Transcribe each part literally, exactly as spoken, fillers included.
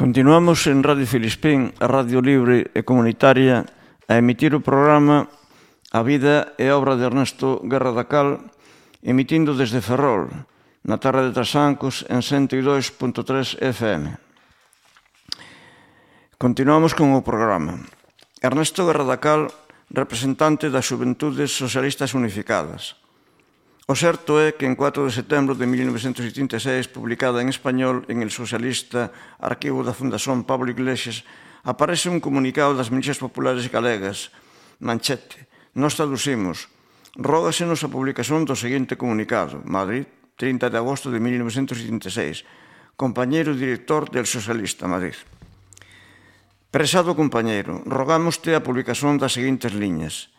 Continuamos en Radio Filispín, a radio libre e comunitaria, a emitir o programa A vida e obra de Ernesto Guerra da Cal, emitindo desde Ferrol, na terra de Trasancos, en ciento dos punto tres F M. Continuamos con o programa. Ernesto Guerra da Cal, representante das Xuventudes Socialistas Unificadas. O certo é que en cuatro de setembro de mil novecentos setenta e seis, publicada en español en el socialista Arquivo da Fundación Pablo Iglesias, aparece un comunicado das milicias populares galegas, manchete. Nos traducimos. Rógasenos a publicación do seguinte comunicado. Madrid, trinta de agosto de mil novecentos setenta e seis. Compañeiro director del Socialista, Madrid. Prezado compañeiro, rogámoste a publicación das seguintes liñas.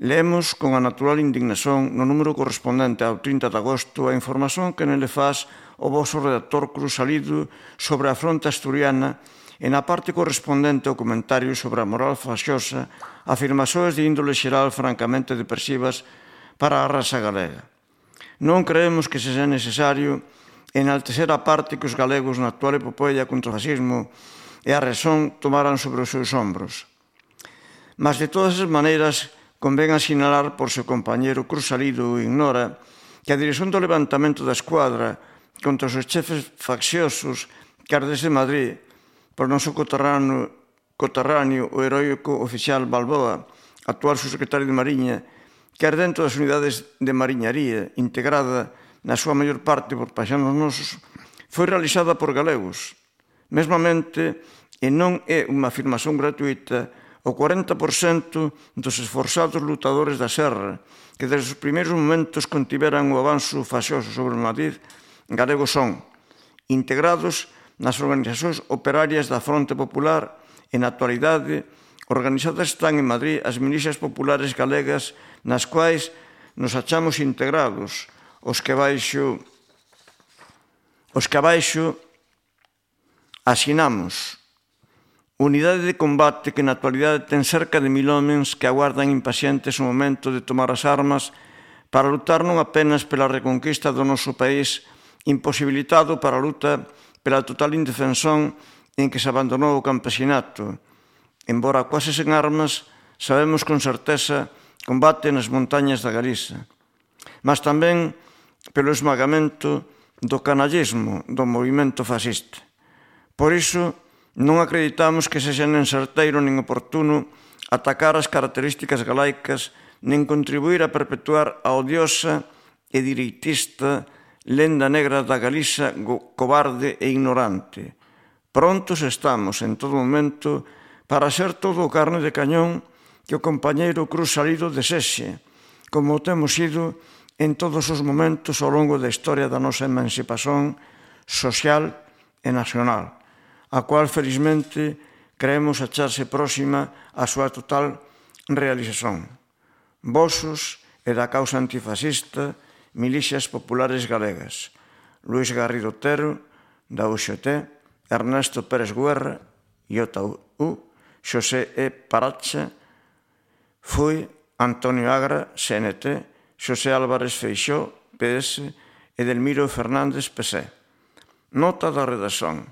Leemos con a natural indignación no número correspondente ao trinta de agosto a información que nele faz o voso redactor Cruz Salido sobre a fronte asturiana e na parte correspondente ao comentario sobre a moral faxosa, afirmacións de índole xeral francamente depresivas para a raza galega. Non creemos que sexa necesario enaltecer a parte que os galegos na actual epopeia contra o fascismo e a razón tomaran sobre os seus ombros. Mas de todas as maneiras, convén asinalar por seu compañeiro Cruz Salido ignora que a dirección do levantamento da escuadra contra os chefes facciosos que desde Madrid, por noso coterráneo, coterráneo o heroico oficial Balboa, actual subsecretario de Mariña, que é dentro das unidades de mariñaría, integrada na súa maior parte por paixanos nosos, foi realizada por galegos. Mesmamente, e non é unha afirmación gratuita, o cuarenta por cento dos esforzados lutadores da Serra, que desde os primeiros momentos contiveran o avanzo faxoso sobre Madrid, galegos son, integrados nas organizacións operarias da Fronte Popular e na actualidade organizadas están en Madrid as milicias populares galegas nas quais nos achamos integrados, os que abaixo os que abaixo asinamos. Unidade de combate que na actualidade ten cerca de mil homens que aguardan impacientes o momento de tomar as armas para lutar non apenas pela reconquista do noso país, imposibilitado para a luta pela total indefensón en que se abandonou o campesinato. Embora quase sen armas, sabemos con certeza combate nas montañas da Galiza. Mas tamén pelo esmagamento do canallismo do movimento fascista. Por iso, non acreditamos que sexa nen certeiro nen oportuno atacar as características galaicas nen contribuir a perpetuar a odiosa e direitista lenda negra da Galiza cobarde e ignorante. Prontos estamos, en todo momento, para ser todo o carne de cañón que o compañeiro Cruz Salido desexe, como o temos sido en todos os momentos ao longo da historia da nosa emancipación social e nacional, a cual, felizmente, creemos acharse próxima á súa total realización. Vosos e da causa antifascista, milicias populares galegas. Luis Garrido Otero, da U X T, Ernesto Pérez Guerra, I O T A U, Xosé E. Paracha, F U I, Antonio Agra, C N T, Xosé Álvarez Feixó, P S, Edelmiro Fernández, P S E. Nota da redacción.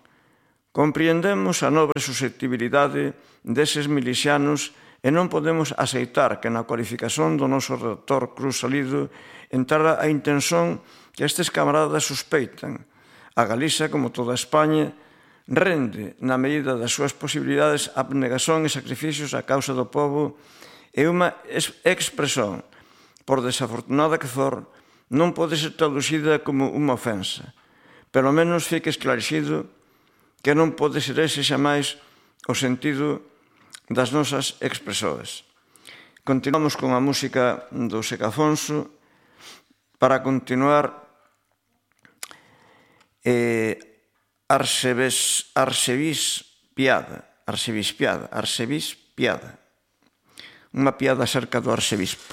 Compreendemos a nobre susceptibilidade deses milicianos e non podemos aceitar que na cualificación do noso redactor Cruz Salido entrara a intención que estes camaradas suspeitan. A Galiza, como toda España, rende, na medida das súas posibilidades, abnegación e sacrificios á causa do povo e unha expresión, por desafortunada que for, non pode ser traducida como unha ofensa. Pelo menos fique esclarecido que non pode ser ese xamais o sentido das nosas expresoras. Continuamos con a música do Seca Afonso para continuar eh, Arsevis, Arsevis Piada, Arsevis Piada, Arsevis Piada, unha piada acerca do arcebispo.